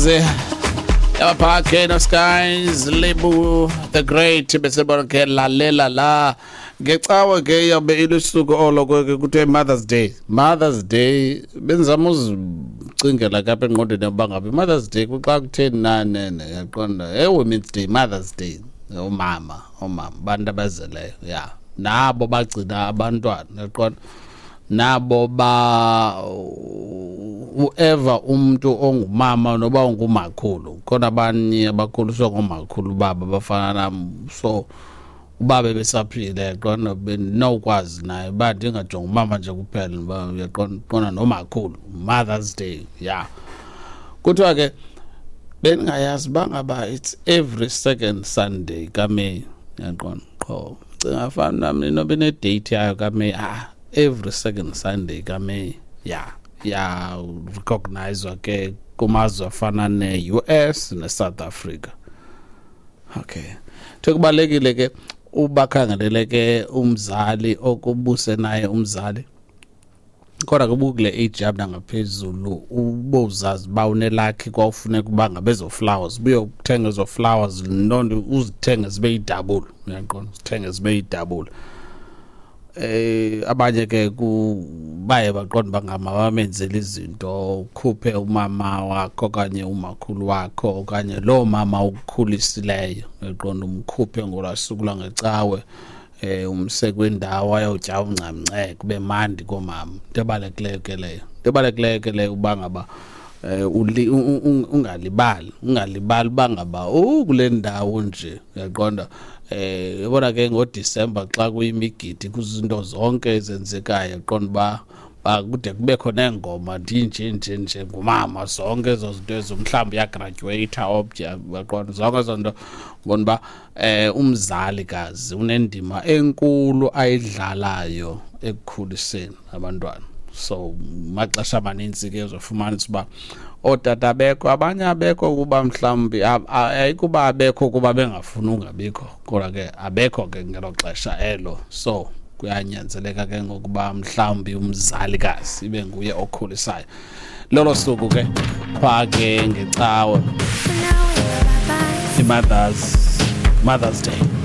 Skies yabapha ke no Skies Lebu the Great, besebona ke lalela la ngecawe ke yabe ilusuku olo ke kuthiwe Mother's Day. Mother's Day benzama uzicingela ke apha engqondweni yokuba ngabe Mother's Day kuxa kutheni na nene, yaqonda, Women's Day, Mother's Day, omama, omama abantu abazeleyo, ya nabo bagcina abantwana, yaqonda, nabo ba whoever umuntu ongumama noba ungumakhulu, khona abanye abakhuliswa ngomakhulu babo abafana nam, so ubaba besaphile, yaqonda, benokwazi naye uba ndingajonga umama nje kuphela, uba uyaqonda, qonda nomakhulu. Mother's Day, ya kuthiwa ke bendingayazi uba ngaba it's every second Sunday kaMeyi, yaqonda, qho cinga fana nam inoba ine-date yayo kaMeyi. Ah, every second Sunday kaMeyi, ya ya recognizwa ke kumazwe afana ne-US ne-South Africa. Okay, kuthiwe kubalulekile ke ubakhangelele ke umzali okubuse naye umzali, kodwa ke ubukule age yam nangaphezulu, ubozazi uba unelakhi kwawufuneka uba ngabe ezo flowers buyokuthenga ezo flowers, nto uzithenge zibe yi-double, uyaqonda, uzithenge zibe yi-double. Abanye ke baye baqonda uba ngama bamenzele izinto, ukhuphe umama wakho okanye umakhulu wakho okanye loo mama ukukhulisileyo, uyaqonda, umkhuphe ngolwaa suku lwangecawe, umse kwindawo ayotya uncamnce, kube mandi koomama. Into ebalulekileyo ke leyo, into ebalulekileyo ke leyo uba ngaba ungalibali, ungalibali uba ngaba kule ndawo nje, uyaqonda. Yabona ke ngoDisemba xa kuyimigidi, kuzinto zonke ezenzekayo, qonda uba kude kubekho neengoma ndinje nje nje ngumama, zonke ezo zinto ezo, mhlawumbi uyagraduate obja, uyaqonda, zonke ezo nto, ubona uba umzali kazi unendima enkulu ayidlalayo ekukhuliseni abantwana. So maxesha amanintsi ke uzofumanisa uba ootata abekho, abanye abekho kuba mhlawumbi ayikuba abekho kuba bengafuni ungabikho, kodwa ke abekho ke ngelo xesha elo, so kuyanyanzeleka ke ngokuba mhlawumbi umzalikazi ibe nguye okhulisayo lolo suku ke phaa ke ngecawe, i-Mothers Day.